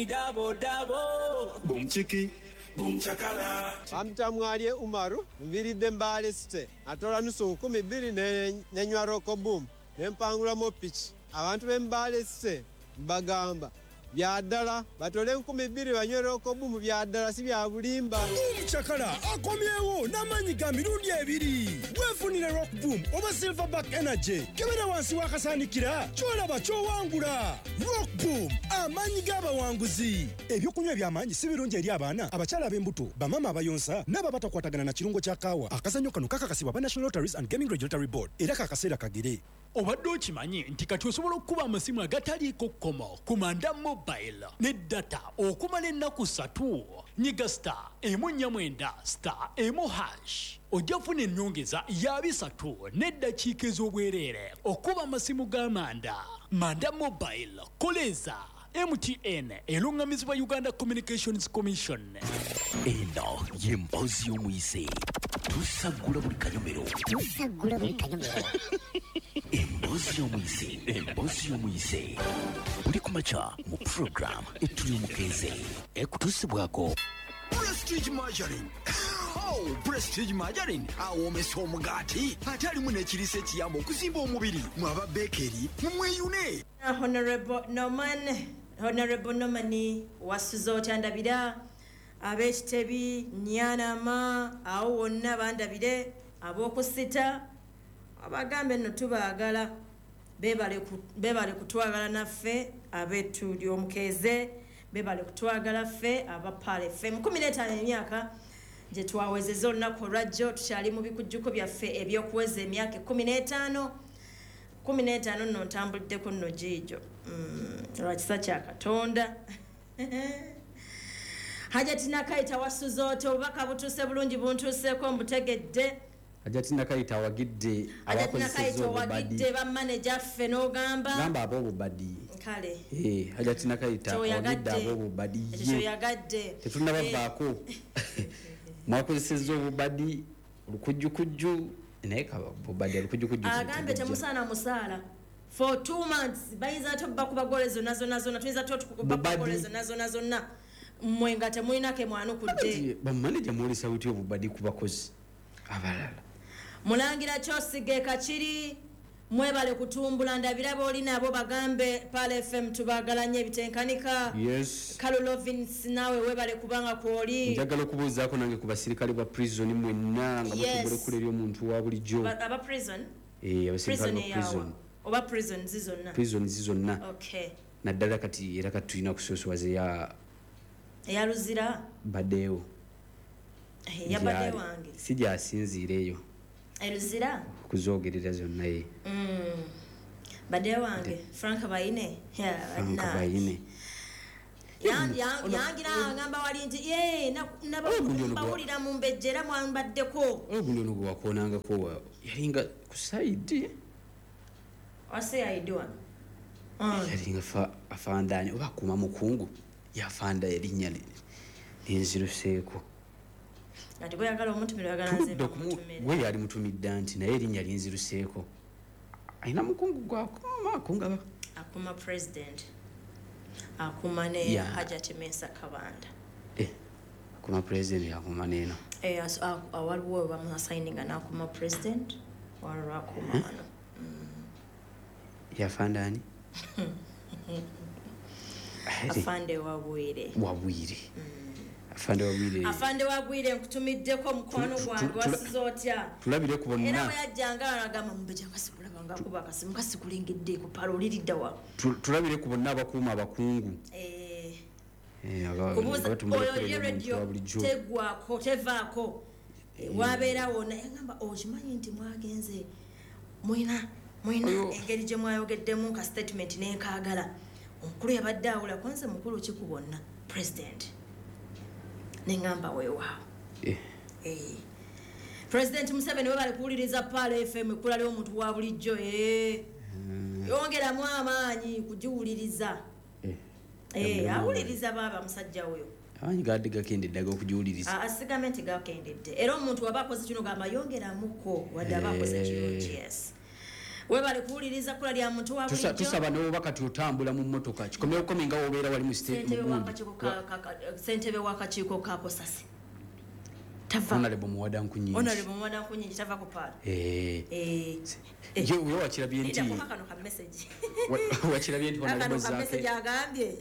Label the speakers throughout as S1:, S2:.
S1: Double, double.
S2: Boom chiki, boom chakala.
S3: Bamtamwalye Umaru nviiridde Mbale City atola 2,000 nenywa Rock Boom nempangulamu piki. Abantu b'e Mbale City mbagamba bya ddala batole 2,000 banywe Rock Boom, bya ddala si bya bulimba.
S4: Boom Chakala akomyewo n'amaanyi ga mirundi ebiri. Weefunire Rock Boom oba Silverback Energy, kebera wansi w'akasaanikira ky'olaba ky'owangula. Rock Boom, amaanyi g'abawanguzi. Ebyokunywa eby'amaanyi si birungi eri abaana, abakyala ab'embuto, bamaama abayonsa n'abo abatakwatagana na kirungo kya kaawa. Akazannyo kano kakakasibwa aba National Lotteries and Gaming Regulatory Board era kakaseera kagere.
S5: Obadde okimanyi nti kati osobola okukuba amasimu agataliiko kkomo ku Manda Mobile ne data okumala ennaku 3? Nyiga star 149 star 1 hash ojja kufuna ennyongeza ya 300 n'eddakiika ez'obwereere okuba amasimu ga Manda. Manda Mobile, koleeza. MTN eruŋŋamizibwa Uganda Communications Commission.
S6: Eno ye mboozi y'omuyise. Tusaggula buli kanyomero.
S7: Tusaggula buli kanyomero.
S6: Emboozi y'omuyise. Emboozi y'omuyise. Buli ku makya mu program Ettuli Omukeeze. Ekutuusibwako
S8: Prestige Margarine. Oh, Prestige Margarine awoomesa omugaati ate alimu n'ekiriisa ekiyamba okuzimba omubiri. Mwe aba Bakery mumweyune.
S9: Honorable Norman, Honorable Norman wasuze otya ndabira ab'ekitebi Nyanama awo wonna bandabire ab'okusita abagambe nno tubaagala beebale kutwagala naffe ab'ettu ly'omukeeze, beebale kutwagala ffe aba Pearl FM. 15 emyaka gye twawezezza olunaku olwajjo, tukyali mu bikujjuko byaffe ebyokuweza emyaka 15. 15 nno ntambuliddeko nno giigyo lwa kisa kya Katonda. Hajati Nakayita wasuze otya? Obubaka butuuse bulungi, buntuuseeko mbutegedde.
S10: Hajati Nakayita awagidde abakozesezza obubadi.
S9: Bamaneja ffe n'ogamba
S10: gamba ab'obubadi.
S9: Kale.
S10: Hajati Nakayita awagidde ab'obubadi.
S9: Kyoyagadde.
S10: Tetunnabavaako. Mwakozesezza obubadi olukujjukujju naye bubadi olukujjukujju.
S9: Agambe temusaana musaala. For 2 months bayinza ate bakuba gole zonna zonna zonna, tuyinza ate okuba gole zonna zonna zonna. Mmwe nga temulina ke mwanukudde.
S10: Bamaneja mwolesa butya obubadi ku bakozi abalala?
S9: Mulangira kyosige Kakiri, mwebale kutumbula ndabira b'oli nabo bagambe Pearl FM tubaagala nnyo ebitenkanika.
S10: Yes.
S9: Carol Lovins naawe webale kubanga kwoli.
S10: Njagala okubuuzaako nange ku basirikale ba prison mwenna nga mutumbula ekkula eri omuntu wa bulijjo.
S9: Aba prison?
S10: Abasirikale ba prison.
S9: Oba prison zizonna?
S10: Prison zizonna.
S9: Okay.
S10: Naddala kati era kati tulina kusoosowaza
S9: eya Luzira?
S10: Baddeewo.
S9: Yabadde wange.
S10: Si gyasinziira eyo.
S9: Luzira?
S10: Kuzoogerera zonna ye.
S9: Badde wange Frank Bayine.
S10: Frank Bayine.
S9: Yangira agamba wali nti nabawulira mu mbejja era mwambaddeko.
S10: Ogundi ono gwe wakoonangako yalinga ku sayidi.
S9: Wase ayidi wano.
S10: Yalinga afandaani oba akuuma mukungu yafanda erinnya linziruseeko.
S9: Ati gweyagala omutumira oyagala nze mbamutumire.
S10: Gwe yali mutumidde nti naye erinnya linziruseeko. Alina mukungu gw'akuuma akunga.
S9: Akuuma president. Akuuma ne Hajati Mensa Kabanda.
S10: Akuuma president akuuma n'eno.
S9: Waliwo bamuassigninga n'akuuma president, waliwo akuuma wano.
S10: Yafanda ani?
S9: Afande Wabwire.
S10: Wabwire. Afande Wabwire.
S9: Afande Wabwire nkutumiddeko mukwano gwange wasize otya?
S10: Tulabire ku bonna.
S9: Era bwe yajjanga agamba mumbeja kasikulaba ng'akuba akasimu kasikulengedde ku palo oliridda wa.
S10: Tulabire ku bonna abakuuma abakungu.
S9: Oyo ye radio tegwako tevaako. Wabeerawo naye agamba okimanyi nti mwagenze mwina engeri gye mwayogeddemu ka statement n'enkaagala. Omukulu yabadde awula kwanza mukulu ki ku bonna president. Nengamba weewaawo. President Museveni webale kuwuliriza Pearl FM ekkula ly'omuntu wa bulijjo. Yongeramu amaanyi kugiwuliriza. Awuliriza baaba musajja oyo.
S10: Amaanyi gadde gakendedde ag'okugiwuliriza.
S9: Asigambe nti gakendedde. Era omuntu waba akoze kino gamba yongeramuko wadde aba akoze kirungi. Yes. Webale kuwuliriza kula lya muntu wa bulijjo.
S10: Tusaba n'oba kati otambula mu mmotoka kikomyewo komi nga wobeera wali mu
S9: ssentebe w'akakiiko ka Kosasi.
S10: Honorable Muwada Nkunyingi.
S9: Honorable Muwada Nkunyingi tava ku paala.
S10: Ye wakirabye nti
S9: kano ka message.
S10: Wakirabye nti Honorable
S9: Zaake. Message agambye.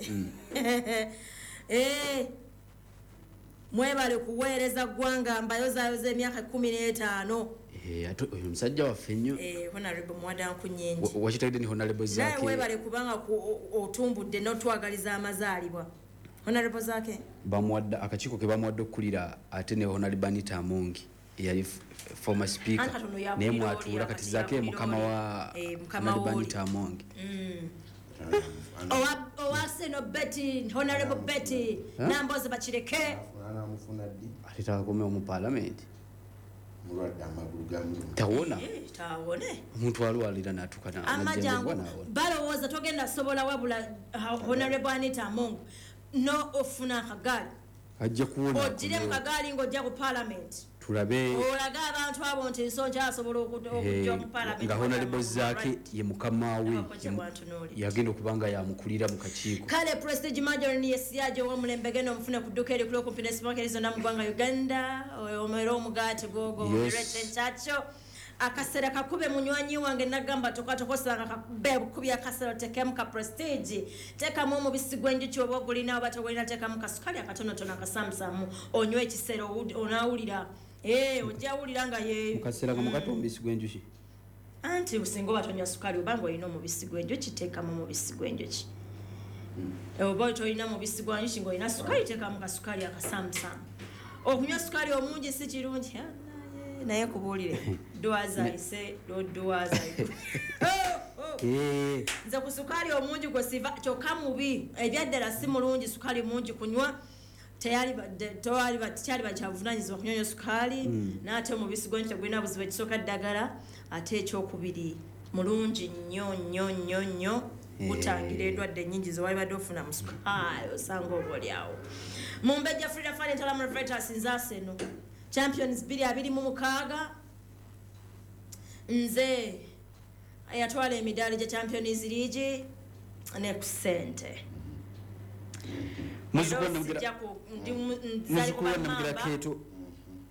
S9: Mwebale kuweereza ggwanga mbayozaayoza emyaka 15.
S10: Ate oyo musajja waffe nnyo.
S9: Honorable Muwada Nkunyingi.
S10: Wakitegedde ni Honorable Zaake.
S9: Naye webale kubanga otumbudde n'otwagaliza amazaalibwa. Honorable Zaake
S10: bamuwadde akakiiko ke bamuwadde okukulira ate ne Honorable Anita Among eyali former speaker naye mwatuula kati Zaake mukama wa Honorable Anita Among.
S9: Owaseno Betty, Honorable Betty Namboze bakireke.
S10: Ate takomeo mu parliament.
S11: Mulwadde amagulu gamuluma.
S10: Tawona.
S9: Tawone.
S10: Omuntu alwalira n'atuuka
S9: n'amajangu. Balowooza togenda sobola wabula Honorable Anita Among no ofuna akagaali.
S10: Ajja kuwona.
S9: Ogire mu kagaali ng'ojja ku parliament.
S10: Tulabe.
S9: Olaga abantu abo nti nsonja asobola okujja mu parliament.
S10: Nga Honorable Zaake ye mukama we yagenda okubanga yamukulira mu kakiiko.
S9: Kale Prestige Margarine yesiyaje ow'omulembe genda omufune ku dduuka erikulu okumpi ne supermarket zonna mu ggwanga Uganda. Omere omugaati gogo omulete nkyakyo. Akasera kakube munywanyi wange nagamba tokatokosanga kakube bukubya akasera tekemu ka Prestige tekamu omubisi gw'enjuki oba ogulina oba togulina tekamu kasukali akatonotono akasamusamu onywe ekisero onaawulira ojja wulira nga ye
S10: mukasera kamugato omubisi gw'enjuki
S9: anti usinga oba tonywa sukali obanga olina omubisi gw'enjuki tekamu omubisi gw'enjuki oba tolina mubisi gwa njuki ng'olina sukali tekamu kasukali akasamusamu. Okunywa sukali omungi si kirungi naye kubuulire dwaza ise dwaza nze ku sukali omungi gwe siva kyokka mubi ebyaddala si mulungi sukali mungi kunywa tekyali bakyavunanyizibwa kunywa sukali n'ate omubisi gw'enjuki tegulina buzibu ekisooka ddagala ate ekyokubiri mulungi nnyo nnyo nnyo nnyo gutangira endwadde nnyingi ze walibadde ofuna mu sukali osanga oba oliawo. Mumbejja Frida Fane Ntalamu Revertus nze Champions 2026 nze ayatwala emidaali gya Champions League ne ku ssente.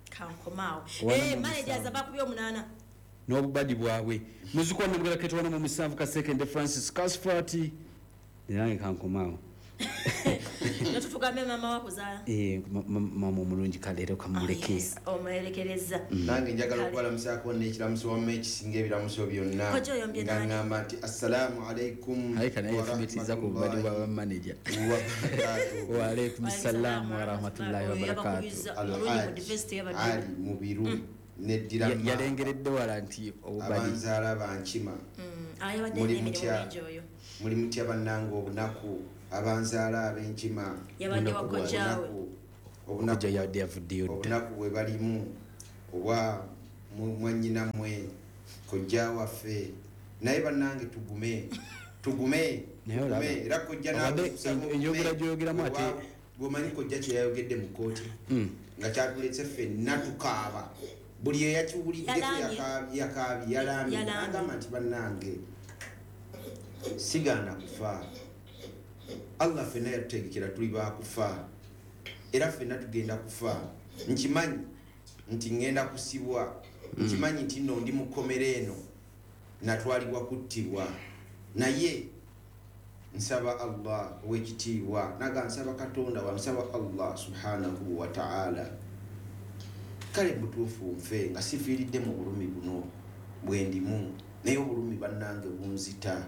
S9: Kankomaawo. Managers abakubye 8
S10: n'obubadi bwabwe. Muzukwa namugera keto wana mu 7 kasekende Francis Casfati nange kankomaawo.
S9: Natutugambe mama wako zaala.
S10: Mama omulungi kaleero kamuleke.
S9: Omulekereza.
S11: Nange njagala okubalamusaako n'ekiramuso wamma ekisinga ebiramuso byonna. Nga ngamba nti assalaamu alaikum.
S10: Ayi kana yefumitiza ku bubadi bwa manager. Wa alaikum salaam wa rahmatullahi wa barakatuh.
S11: Ali Mubiru neddira
S10: yalengeredde wala nti obubadi.
S11: Abanzaala bankima. Muli mutya bannange obunaku. Abanzaala ab'enkima obunaku bwe balimu obwa mwannyinammwe kojja waffe naye bannange tugume tugume era kojja
S10: enjogera gy'oyogeramu ate
S11: bw'omanyi kojja kye yayogedde mu kkooti nga kyatuletse ffenna tukaaba buli eyakiwuliddeko yakaabye yalambye agamba nti bannange sigaana kufa. Allah ffenna yatutegekera tuli baakufa era ffenna tugenda kufa. Nkimanyi nti ngenda kusibwa, nkimanyi nti nno ndi mu kkomera eno natwalibwa kuttibwa, naye nsaba Allah ow'ekitiibwa naga nsaba Katonda wa nsaba Allah subhanahu wa ta'ala kale butuufu nfe nga sifiiridde mu bulumi buno bwe ndimu, naye obulumi bannange bunzita.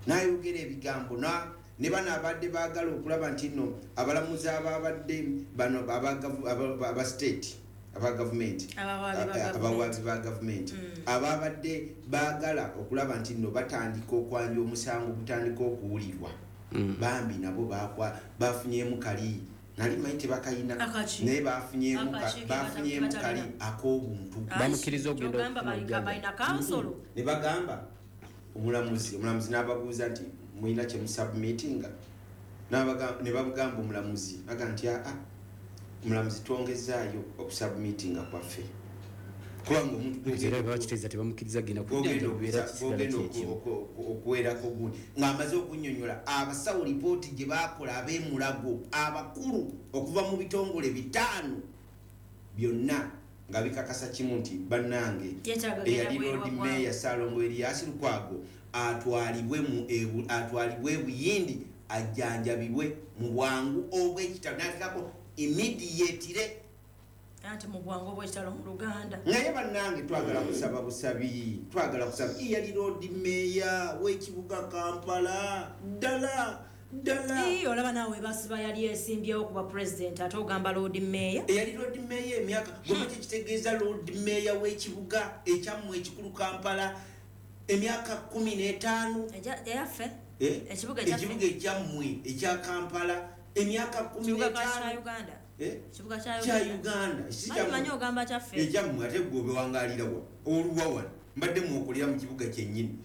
S11: Nayogera ebigambo ne bano abadde baagala okulaba nti nno abalamuzi ababadde bano aba state aba gavumenti abawaabi ba gavumenti ababadde baagala okulaba nti nno batandika okwanja omusango gutandika okuwulirwa bambi nabo bafunyemu kali nali manyi tebakayina naye bafunyemu kali ak'obuntu
S10: bamukkiriza okugenda
S11: ne bagamba omulamuzi n'ababuuza nti mulina kye musubmitinga ne babugamba omulamuzi aga nti aa omulamuzi twongezaayo okusubmitinga kwaffe Kubanga omuntu
S10: era bakiteeza tebamukkiriza genda
S11: kugenda okuwerako gundi ng'amaze okunnyonnyola abasawo lipooti gye baakola ab'emulago abakulu okuva mu bitongole 5 byonna nga bikakasa kimu nti bannange eyali Lord Mayor Ssalongo Erias Lukwago atwalibwe Buyindi ajjanjabibwe mu bwangu obw'ekitalo n'ateekako immediately
S9: anti mu bwangu obw'ekitalo mu Luganda.
S11: Naye bannange twagala kusaba busabi, twagala kusaba eyali Lord Mayor w'ekibuga Kampala ddala ddala.
S9: Olaba naawe basiba yali esimbyewo kuba president ate ogamba Lord Mayor.
S11: Eyali Lord Mayor emyaka gwe kitegeeza Lord Mayor w'ekibuga ekyammwe ekikulu Kampala emyaka 15
S9: eyaffe
S11: ekibuga ekyammwe ekya Kampala emyaka 15
S9: Uganda. Ekibuga
S11: kya Uganda.
S9: Simanyi ogamba kyaffe.
S11: Ekyammwe ate gwe obewangalira wa oluwa wano mbadde mwokolera mu kibuga kyennyini.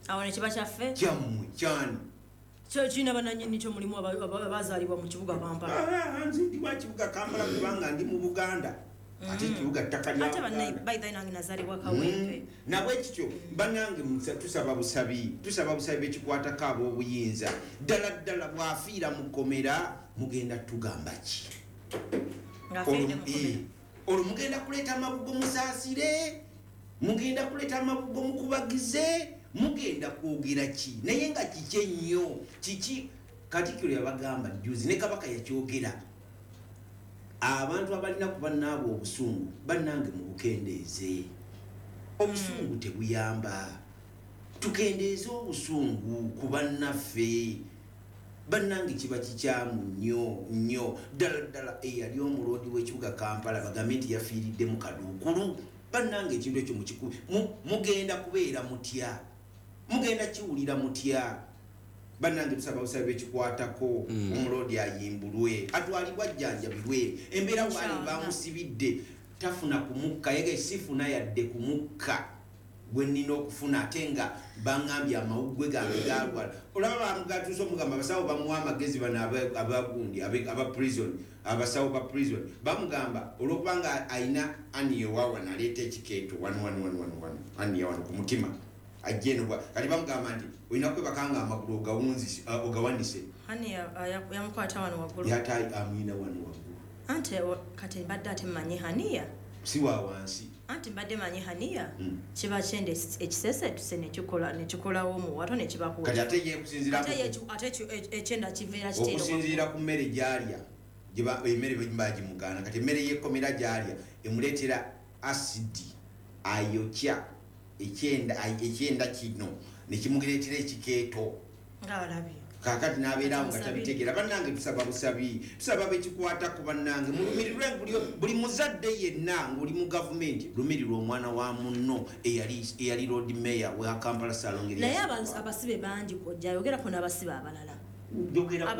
S9: Awo ne kiba kyaffe?
S11: Kyammwe kyani?
S9: Kyo kirina bannannyini kyo mulimu abazaalibwa mu kibuga Kampala.
S11: Nze ndi wa kibuga Kampala kubanga ndi mu Buganda. Ate ekibuga ttaka lya
S9: Ate by the way nange nazaalibwa Kawempe.
S11: Nabwe kityo bannange tusaba busabi, tusaba busabi ekikwatako ab'obuyinza. Ddala ddala bw'afiira mu kkomera mugenda tugamba ki? Olwo mugenda kuleeta amabugo musaasire, mugenda kuleeta amabugo mukubagize, mugenda kwogera ki? Naye nga kiki ennyo kiki? Katikkiro yabagamba jjuzi ne Kabaka yakyogera. Abantu abalina ku bannaabwe obusungu bannange mubukendeeze. Obusungu tebuyamba. Tukendeeze obusungu ku bannaffe. Bannange kiba kikyamu nnyo nnyo. Ddala ddala eyali omuloodi w'ekibuga Kampala bagambe nti yafiiridde mu kaduukulu. Bannange ekintu ekyo mukikubi mugenda kubeera mutya? Mugenda kiwulira mutya? Bannange tusaba busabi ekikwatako omuloodi ayimbulwe atwalibwa ajjanjabibwe. Embeera waali bamusibidde tafuna kumukka, yege sifuna yadde kumukka gwe nnina okufuna ate nga baŋŋambye amawuggwe gange galwala. Olaba bamugatuusa omugamba abasawo bamuwa amagezi bano abagundi aba prison, abasawo ba prison bamugamba olwokubanga alina aniyo wano aleeta ekikeeto wano wano wano wano aniyo wano ku mutima ajje eno kati bamugamba nti olina kwebaka nga amagulu ogawanise.
S9: Ani yamukwata wano waggulu?
S11: Yate amuyina wano waggulu.
S9: Anti kati mbadde ate mmanyi haniya
S11: si wa wansi.
S9: Anti mbadde manyi haniya kiba kyenda ekisesetuse nekikolawo omuwato nekibakuwa.
S11: Kati ate ye kusinziira
S9: ate ekyenda kiveera kiteero
S11: okusinziira ku mmere gy'alya emmere bagimugaana. Kati emmere y'ekkomera gy'alya emuleetera asidi ayokya ekyenda kino nekimuleetera ekikeeto.
S9: Ng'alabye
S11: kaakati n'abeerawo nga tabitegeera. Bannange tusaba busabi, tusaba bekikwatako bannange mulumirirwe buli muzadde yenna ng'oli mu gavumenti lumirirwa omwana wa munno eyali Lord Mayor wa Kampala Ssalongo.
S9: Naye abasibe bangi kojja ayogerako n'abasibe abalala.
S11: Njogera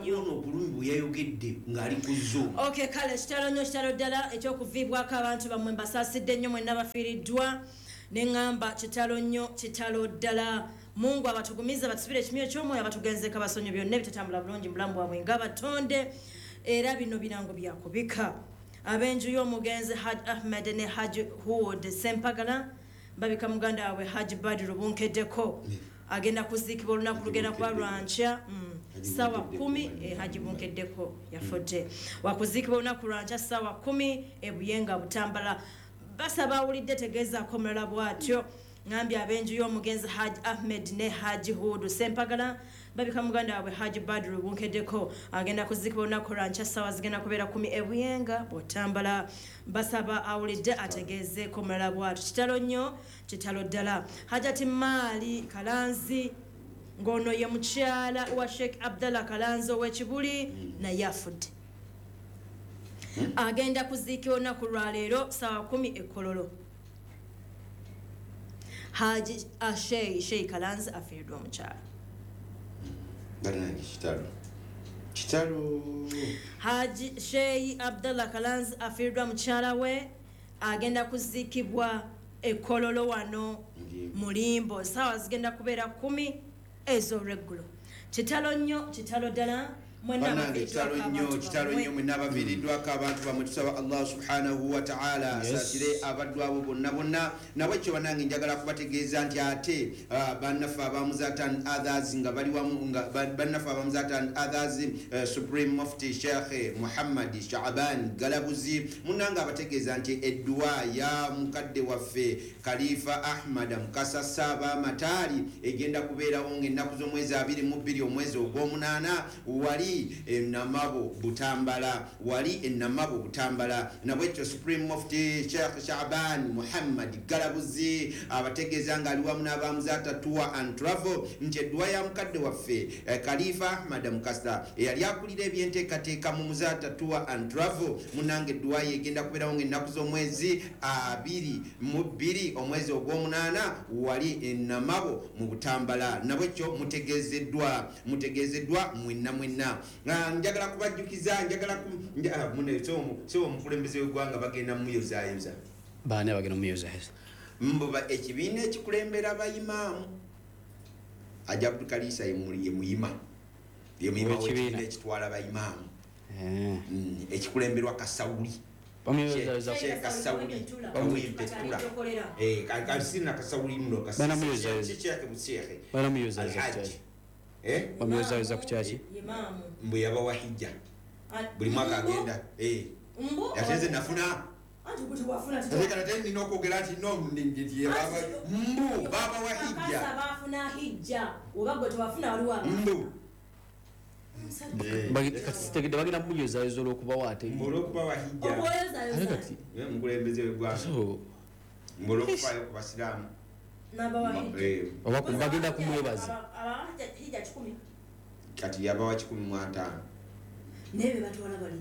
S11: kuono obulumi bwe yayogedde ng'ali ku Zoom.
S9: Okay, kale kitalo nnyo kitalo ddala ekyokuviibwako abantu bammwe mbasaasidde nnyo mwenna bafiiriddwa. Neŋŋamba kitalo nnyo kitalo ddala. Mungu abatugumiza batusibire ekimyo ky'omwoyo abatugenzeko abasonyi byonna ebitatambula bulungi mu bulamu bwabwe ng'abatonde. Era bino birango byakubika. Ab'enju y'omugenzi Hajj Ahmed ne Hajj Hood Sempagala babika muganda waabwe Hajj Badru Bunkeddeko agenda kuziikibwa olunaku lugenda kuba lwankya ssaawa 10. Hajj Bunkeddeko yafudde wakuziikibwa olunaku lwankya ssaawa 10 e Buyenga Butambala. Basaba awulidde tegeezaako omulala bw'atyo. Ngambye ab'enju y'omugenzi Hajj Ahmed ne Hajj Hood Sempagala babika muganda waabwe Hajj Badru Bunkeddeko agenda kuziikibwa olunaku lwankya ssaawa zigenda kubeera 10 e Buyenga Butambala. Basaba awulidde ategeezeeko omulala bw'atyo. Kitalo nnyo kitalo ddala. Hajjati Maali Kalanzi ng'ono ye mukyala wa Sheikh Abdallah Kalanzi ow'Ekibuli naye afudde. Agenda kuziikibwa olunaku lwaleero ssaawa 10 e Kololo. Haji Sheikh Kalanzi afiiriddwa omukyala.
S11: Bannange kitalo kitalo.
S9: Haji Sheikh Abdallah Kalanzi afiiriddwa mukyala we agenda kuziikibwa e Kololo wano Mulimbo ssaawa zigenda kubeera 10 ez'olweggulo. Kitalo nnyo kitalo ddala.
S11: Bannange kitalo nnyo, kitalo nnyo mwenna abaviiriddwako abantu bamwe. Tusaba Allah subhanahu wa ta'ala asaasire abaddu abo bonna bonna. Nabwekyo bannange njagala kubategeeza nti ate bannaffe abamuzata and others nga bali wamu, nga bannaffe abamuzata and others, Supreme Mufti Sheikh Muhammad Shaaban Galabuzi munnange abategeeza nti edduwa ya mukadde waffe Khalifa Ahmad Mukasa Ssaabamataali egenda kubeerawo ng'ennaku z'omwezi 22 omwezi ogw'omunaana wali Enamabo Butambala, wali Enamabo Butambala. Nabwekyo Supreme Mufti Sheikh Shaban Muhammad Galabuzi abategeeza nga ali wamu n'abamuzata Tour and Travel nti edduwa ya mukadde waffe Khalifa Ahmad Mukasa eyali akulira ebyenteekateeka mu Muzata Tour and Travel, munnange edduwa ye egenda kubeerawo ng'ennaku z'omwezi 22 omwezi ogw'omunaana wali Enamabo mu Butambala. Nabwekyo mutegeezeddwa, mutegeezeddwa mwenna mwenna. Njagala kubajjukiza, njagala so omukulembeze w'eggwanga bagenda mumuyozaayoza.
S10: Baani abagenda mumuyozaayoza?
S11: Mbuba ekibiina ekikulembera bayimaamu Haji Abdul Kalisa ye muyima, ye muyima w'ekibiina ekitwala bayimaamu ekikulemberwa Kasawuli.
S10: Bamuyozaayoza
S11: Kasawuli Kawempe-Ttula. Sirina Kasawuli muno.
S10: Banamuyozaayoza bamuyozaayoza ku kyaki?
S11: Mbu yabawa hijja buli mwaka agenda. Ate nze nafuna, ate nina okwogera nti no, mbu babawa hijja. Mbu
S10: kati bagenda muyozaayoza olw'okubawa ate
S11: olw'okubawa hijja mukulembeze w'eggwanga, mbu olw'okufaayo ku basiraamu
S10: oba bagenda kumwebaza.
S11: Kati yabawa 150.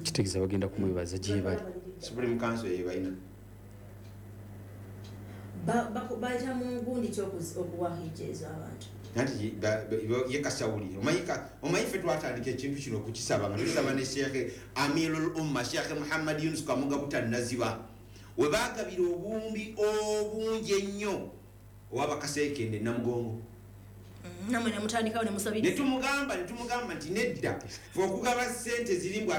S10: Kitegeeza bagenda kumwebaza gye bali.
S11: Supreme Council yebalina
S9: bayita mu gundi ki okuwa hijja ezo abantu?
S11: Anti ye Kasawuli omanyi ffe twatandika ekintu kino okukisaba nga tukisaba ne Sheikh Amirul Umma Sheikh Muhammad Yunus Kamoga Butannaziba, we baagabira obuwumbi obungi ennyo owabakaseekende Namugongo.
S9: Namwe nemutandikawo nemusabiriza.
S11: Netumugamba nti nedda, fe okugaba ssente ziri mbw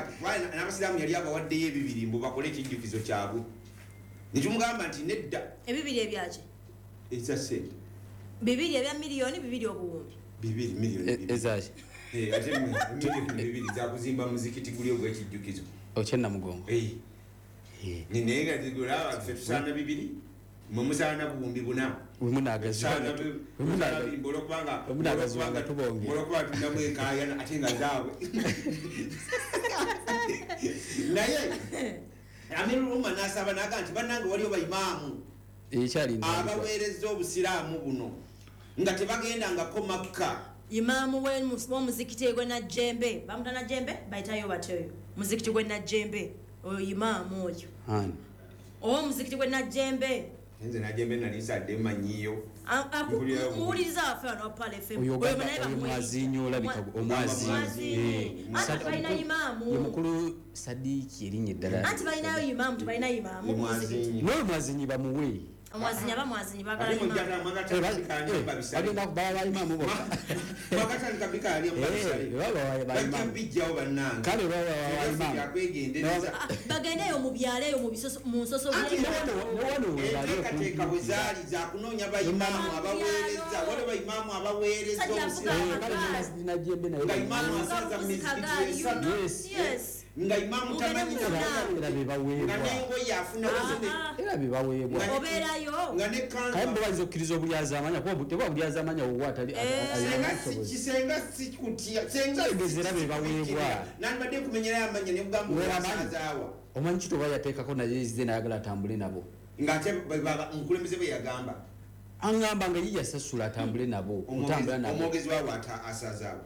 S11: n'abasiraamu yali abawaddeyo ebibiri mbu bakole ekijjukizo kyabwe. Netumugamba nti nedda.
S9: Ebibiri ebyaki?
S11: Eza ssente
S9: bibiri ebya miliyoni bibiri obuwumbi
S11: bibiri miliyoni
S10: ezaki?
S11: Ate miliyoni bibiri zakuzimba muzikiti guli ogw'ekijjukizo
S10: okye Namugongo.
S11: Naye nga zigulaba ffe tusaana bibiri, mwe musaana buwumbi buna. Olwokubanga tulinamu enkaayana ate nga zaabwe. Naye Amirul Umma n'asaba n'agamba nti bannange waliyo bayimaamu abaweereza obusiraamu buno nga tebagendangako Makka.
S9: Imaamu w'omuzikiti gwe Najjembe, bamuta Najjembe, bayitayo batyoyo muzikiti gwe Najjembe, oyo imaamu oyo ow'omuzikiti gwe Najjembe.
S11: Nze Najjembe nali nsadde mmanyiyo.
S9: Muwuliriza waffe wano wa Pearl FM.
S10: Oyo omwazinyi olabika omwazinyi.
S9: Anti balina imaamu.
S10: Ye mukulu Sadiki erinnya eddala.
S9: Anti balinayo imaamu, tebalina imaamu ku muzikiti.
S10: N'oyo mwazinyi bamuwe.
S9: Omwazinyi aba mwazinyi baagala imaamu.
S10: Bagenda kubala bayimaamu bokka.
S11: Bagatandika bikaali mubabisale. Bajja bijjawo bannange.
S10: Kale baba bayimaamu.
S9: Bagendeyo mu byalo eyo mu bisoso mu nsoso.
S11: Enteekateeka bwe zaali za kunoonya bayimaamu abaweereza. Waliwo bayimaamu abaweereza obusiraamu. Nga imaamu asaza mu mizikiti esatu. Nga imaamu tamanyi
S10: era bebaweebwa.
S11: Nga n'engoye afuna
S10: era bebaweebwa.
S9: Obeerayo.
S11: Nga ne kanzu.
S10: Kale mbo bayinza okkiriza obulyazaamanya kuba teba bulyazaamanya owuwo atali
S11: Senga sikutya. Senga
S10: era bebaweebwa.
S11: Nandibadde nkumenyerayo amannya ne kugamba osazaawa.
S10: Omanyi kito oba yateekako naye ezze n'ayagala atambule nabo.
S11: Ng'ate omukulembeze bwe yagamba.
S10: Aŋŋamba nga ye yasasula atambule nabo. Otambula nabo.
S11: Omwogezi waabwe asazaawa.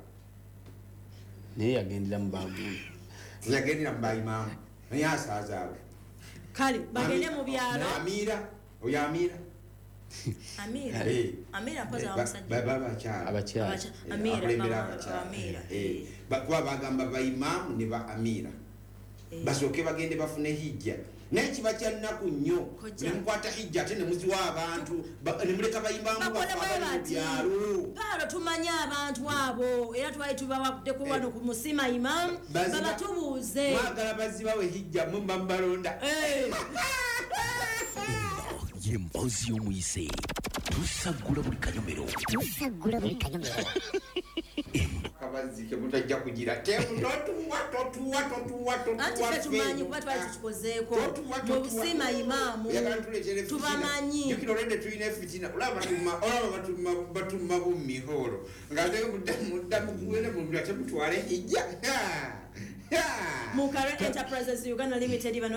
S10: Naye yagendera mu bagundi.
S11: Yagendera mu bayimaamu naye asazaawa.
S9: Kale bagende mu byalo.
S11: Amira oyo Amira.
S9: Amira. Amira mpozi abamusajja.
S11: Baba abakyala.
S10: Abakyala.
S9: Amira.
S11: Akulembera abakyala.
S9: Amira.
S11: Kuba bagamba bayimaamu ne ba Amira. Basooke bagende bafune hijja. Naye kiba kya nnaku nnyo ne mukwata hijja ate ne muziwa abantu ne muleka bayimbamu bafa mu byalo.
S9: Paalo tumanye abantu abo era twali tubawaddeko wano ku Musima Imam babatubuuze.
S11: Mwagala bazibawe hijja mwe muba mubalonda.
S6: Ye mboozi y'omuyise. Tusaggula buli kanyomero.
S7: Tusaggula buli kanyomero.
S11: Kabazzi ke mutajja kugira. Totuwa totuwa totuwa totuwa.
S9: Anti ffe tumanyi kuba twali tukikozeeko. Mu Busima Imaamu tubamanyi.
S11: Jjukira olwedde tulina efitina. Olaba batuma bummiholo. Ng'ate mudda mugende mu ate mutwale hijja.
S9: Mukare Enterprises Uganda Limited bano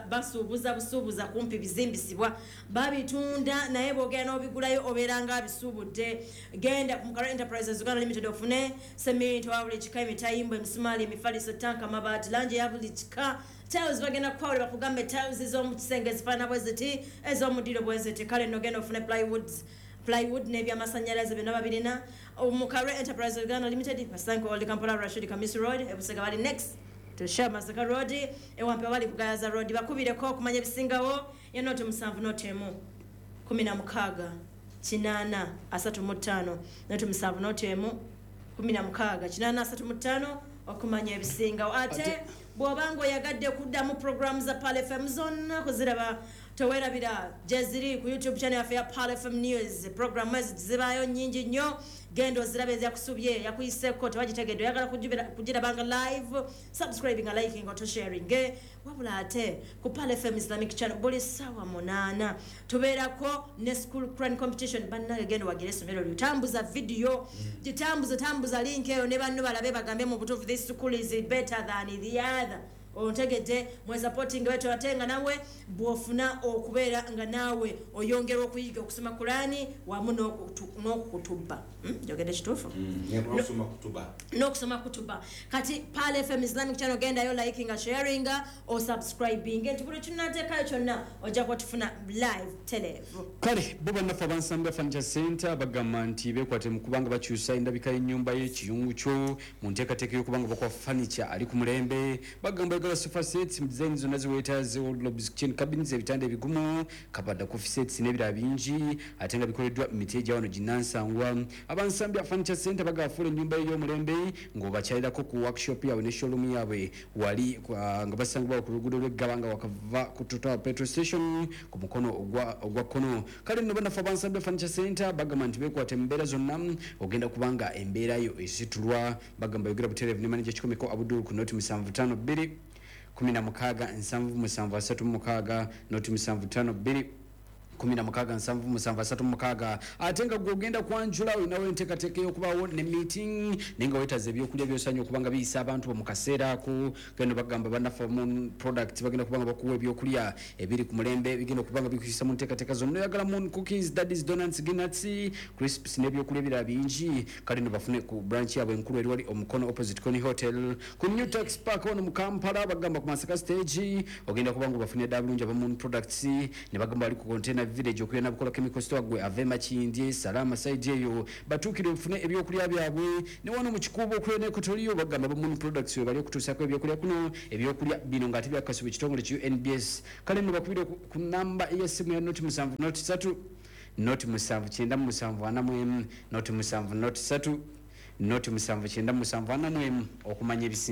S9: basuubuza busuubuza kumpi bizimbisibwa babitunda naye bw'ogenda n'obigulayo obeera nga abisuubudde. Genda ku Mukare Enterprises Uganda Limited ofune seminti wa buli kika, emitayimbwa, emisumaali, emifaliso, tanka, amabaati, langi ya buli kika. Tiles bagenda kukwawula bakugambe tiles ez'omu kisenge ezifaanana bwe ziti, ez'omudiro bwe ziti. Kale nno genda ofune plywood n'ebyamasannyalaze byonna babirina. Mukare Enterprise Uganda Limited basange Old Kampala Rashid Kamisi Road, Ebusega bali next to Shell Masaka Road, Ewampe bali Kugayaza Road. Bakubireko okumanya ebisingawo ya 07 0 16 8 35 07 0 16 8 35 okumanya ebisingawo. Ate bw'obanga oyagadde kuddamu programu za Pearl FM zonna kuziraba towerabira gyeziri ku YouTube channel yaffe ya Pearl FM News. Programu ezo zibaayo nnyingi nnyo, genda ozirabe ezakusubye yakuyiseeko tewagitegedde oyagala kugirabanga live, subscribing, liking oto sharing. Wabula ate ku Pearl FM Islamic channel buli ssaawa 8 tubeerako ne school Quran competition. Bannange genda wagire essomero lyo, tambuza video, gitambuze tambuza link eyo ne banno balabe bagambe mu butuufu this school is better than the other. Ontegedde mwe supporting wetu ate nga nawe bw'ofuna okubeera nga naawe oyongera okuyiga okusoma Kurani wamu n'okutubba. Njogedde kituufu? N'okusoma kutuba. Kati Pearl FM Islamic channel gendayo liking, sharing or subscribing. Nti buli kinateekayo kyonna ojja kuba tufuna live televu.
S10: Kale bo bannaffe abansambya Furniture Center bagamba nti beekwate mu kubanga bakyusa endabika y'ennyumba y'ekiyungu kyo mu nteekateeka y'okubanga bakuwa furniture ali ku mulembe. Bagamba oyagala sofa sets mu design zonna ziweetaaze, wardrobes, kitchen cabinets, ebitanda ebigumu, kabada, coffee sets n'ebirala bingi ate nga bikoleddwa mu miti egya wano ginnansangwa. Abansambya Furniture Center bagafuula ennyumba y'omulembe ng'obakyalirako ku workshop yaabwe ne showroom yaabwe wali nga basangibwa ku luguudo lw'eggaba nga wakava ku Total petrol station ku mukono ogwa kkono. Kale nno bannaffe abansambya Furniture Center bagamba nti beekwate mu mbeera zonna ogenda kubanga embeera yo esitulwa. Bagamba yogera butereevu ne manager Kikomeko Abdul ku noti 752 16 77 36 noti 752 16 77 36. Ate nga gw'ogenda kwanjula olinawo enteekateeka ey'okubaawo ne meeting naye nga weetaaze ebyokulya by'osaanye okuba nga biyisa abantu bo mu kaseera ako. Genda bagamba bannaffe Moon Product bagenda kuba nga bakuwa ebyokulya ebiri ku mulembe bigenda okuba nga bikuyisa mu nteekateeka zonna. Oyagala Moon Cookies, Daddy's Donuts, Ginuts, Crisps n'ebyokulya ebirala bingi. Kale nno bafune ku branch yaabwe enkulu eri wali Omukono opposite Coney Hotel ku New Tax Park wano mu Kampala. Bagamba ku Masaka stage ogenda kuba nga bafunye ddala bulungi aba Moon Products ne bagamba bali ku container village okulya nabukola chemical store gwe ave Makindye Salama side eyo batuukire ofune ebyokulya byabwe. Ne wano mu Kikuubo okulya ne Kotoliyo bagamba ba Moon Products we bali okutuusaako ebyokulya kuno ebyokulya bino ng'ate byakasibwa ekitongole ki UNBS. Kale nno bakubire ku namba ey'essimu ya noti 7 noti 3 noti 7 9 7 4 noti 7 noti 3 noti 7 9 7 4 okumanya ebisinga.